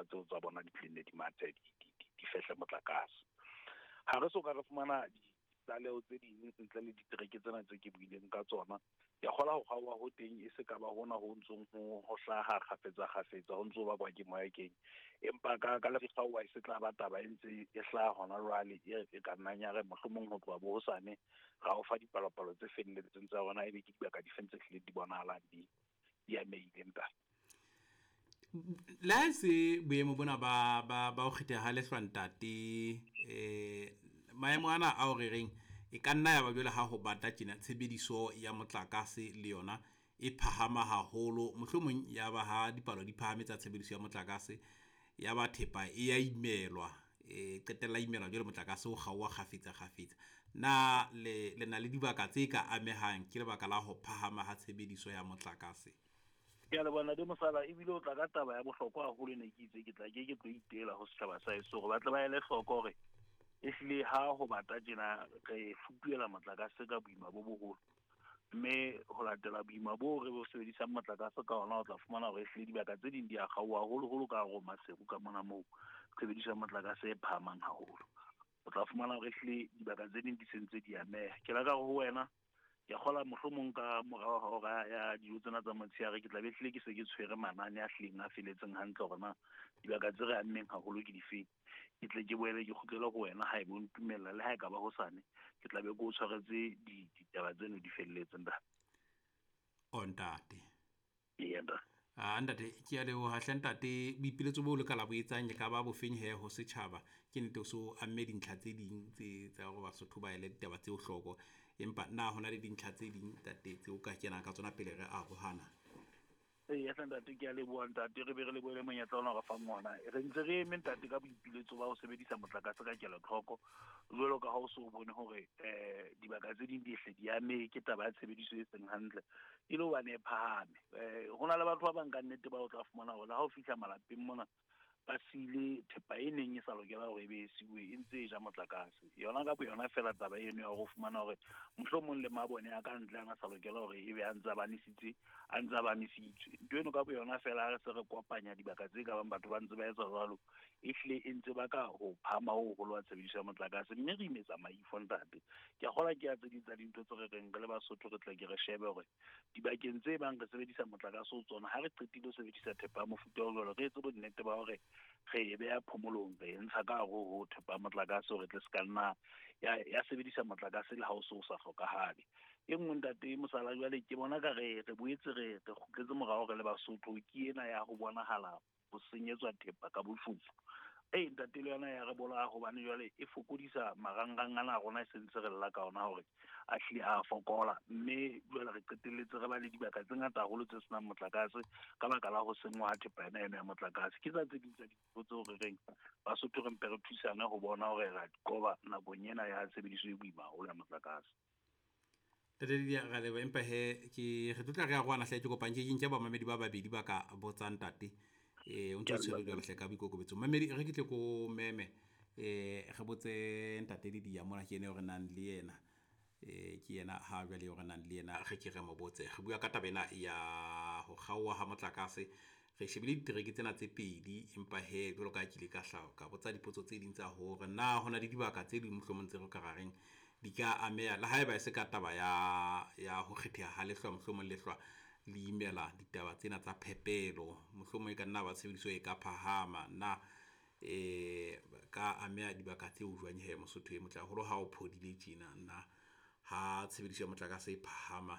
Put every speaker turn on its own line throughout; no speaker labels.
tseo tsa bona di tlenne di mathe di fehle motlakase. Ha re so ka re fumana ditlaleho tse ding ntle le ditereke tsena tse ke buileng ka tsona. Ke kgola ho kgaoha ho teng e se ka ba hona ho ntsong ho hlaha kgafetsa kgafetsa ho ntso bakwa ke moya keng, empa ka le kgaoha e se tla ba taba e ntse e hlaha hona jwale, e ka nnang ya re mohlomong ho tloha bo hosane ra o fa dipalopalo tse felletseng tsa rona, ebe ke dibaka di feng tse hlileng di bonahalang di amehile ntate.
Le ha se boemo bona ba ho kgetheha ha lehlwa ntate, maemo ana ao re reng e ka nna ya ba jwale ha ho bata tjena tshebediso ya motlakase le yona e phahama haholo, mohlomong ya ba ha dipalo di phahame tsa tshebediso ya motlakase ya ba thepa e ya imelwa, e qetella imelwa jwale motlakase o kgaoha kgafetsa kgafetsa. Na le na le dibaka tse ka amehang ke lebaka la ho phahama ha tshebediso ya motlakase?
Ke a leboha Ntate Mosala, ebile o tla ka taba ya bohlokwa haholo ne ke itse ke tla ke tlo itela ho setjhaba sa heso hore ba tle ba ele hloko hore ehlile ha ho bata tjena re futuhela motlakase ka boima bo boholo, mme ho latela boima bo re bo sebedisang motlakase ka ona o tla fumana hore ehlile dibaka tse ding di a kgaoha haholoholo ka hare ho Maseru ka mona moo tshebediso ya motlakase e phahamang haholo. O tla fumana hore ehlile dibaka tse ding di sentse di ameha. Ke laka hore ho wena ke kgola mohlomong ka morao ha hora ya dijo tsena tsa motshehare ke tla be hlile ke se ke tshwere manane a hlileng a feletseng hantle hore na dibaka tse re ammeng haholo ke difeng. Ke tle ke boele ke kgutlele ho wena ha ebe o ntumella, le ha e ka ba hosane ke tla be ke o tshwaretse ditaba tseno di felletse ntate.
O ntate.
Eya ntate.
Ah ntate, ke a leboha hle ntate, boipiletso bo le ka la bo etsang e ka ba bofeng he ho setjhaba? Ke nnete o so amme dintlha tse ding tse tsa hore Basotho ba ele ditaba tseo hloko, empa na hona le dintlha tse ding ntate tseo ka kenang ka tsona pele re arohana?
Eya hle ntate, ke a leboha ntate, re be re lebohele monyetla ona o re fang ona. Re ntse re eme ntate ka boipiletso ba ho sebedisa motlakase ka kelotlhoko, jwalo ka ha o so bone hore dibaka tse ding di hle di amehe ke taba ya tshebediso e seng hantle, e le hobane e phahame. Ho na le batho ba bang ka nnete ba o tla fumana hore le ha o fihla malapeng mona ba siile thepa e neng e sa lokela hore e be e siuwe e ntse e ja motlakase. Yona ka boyona fela taba eno ya hore o fumana hore mohlomong le mabone a ka ntle a sa lokela hore ebe a ntse a banisitse, a ntse a banisitswe. Ntho eno ka boyona fela ha re se re kopanya dibaka tse ka bang batho ba ntse ba etsa jwalo, ehlile e ntse ba ka ho phahama ho hoholo wa tshebediso ya motlakase, mme re imetsa maifo ntate. Ke a kgolwa ke ya tse ding tsa dintho tse re reng re le Basotho re tle ke re shebe hore dibakeng tse bang re sebedisa motlakase ho tsona, ha re qetile ho sebedisa thepa ya mofuta o jwalo, re etse bonnete ba hore re e beha phomolong, re e ntsha ka hare ho thepa ya motlakase hore tle se ka nna ya sebedisa motlakase le ha o se o sa hlokahale. E nngwe ntate Mosala jwale ke bona ka re boetse re kgutletse morao re le Basotho, ke ena ya ho bonahala ho senyetswa thepa ka bofofu. Ee ntate, le yona ya re bolaya hobane jwale e fokodisa marangrang ana a rona e sentse re lla ka ona hore a hlile a fokola, mme jwale re qetelletse re ba le dibaka tse ngata haholo tse senang motlakase ka baka la ho senngwa ha thepa ena eno ya motlakase. Ke tsa tse ding tsa dintho tseo re reng Basotho re mpe re thusane ho bona hore ra di qoba nakong ena ya tshebediso e boima haholo ya motlakase.
Ntate Lydia, ra leboha, empa he ke re tlotla re arohana hle, ke kopang ke nke bamamedi ba babedi ba ka botsang ntate. O ntse o tshwere jwalo hle ka boikokobetso. Mamedi, re ke tle ko meme, re botse ntate Lydia mona, ke ene eo re nang le yena. Ke yena ha jwale eo re nang le yena, re ke re mo botse. Re bua ka taba ena ya ho kgaoha ha motlakase. Re shebile ditereke tsena tse pedi, empa he jwalo ka ha ke ile ka hlaha ka botsa dipotso tse ding tsa hore na hona le dibaka tse ding mohlomong tse re ka ra reng di ka ameha, le haeba e se ka taba ya ho kgetheha ha lehlwa, mohlomong lehlwa le imela ditaba tsena tsa phepelo, mohlomong e ka nna ba tshebediso e ka phahama na ka ameha dibaka tseo jwang he Mosotho e motle haholo ha o phodile tjena, na ha tshebediso ya motlakase e phahama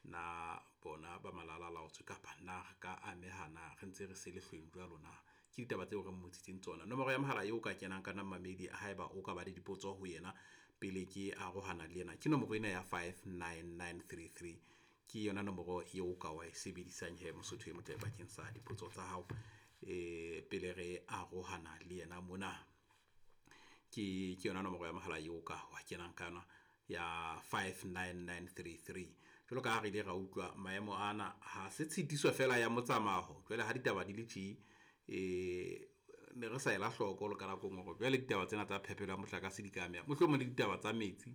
na bona ba malala laotswe kapa na re ka ameha na re ntse re se lehlweng jwalo na? Ke ditaba tseo re mmotsitseng tsona. Nomoro ya mohala eo ka kenang ka mamedi haeba o ka ba le dipotso ho yena pele ke arohana le yena, ke nomoro ena ya 59933, ke yona nomoro eo ka wa e sebedisang he Mosotho e motle bakeng sa dipotso tsa hao pele re arohana le yena mona. Ke yona nomoro ya mohala eo ka wa kenang ka yona ya 59933. Jwalo ka ha re ile ra utlwa maemo ana ha se tshitiso fela ya motsamao, jwale ha ditaba di le tje ne re sa ela hloko le ka nako e nngwe hore jwale ditaba tsena tsa phepelo ya motlakase di ka ameha, mohlomong le ditaba tsa metsi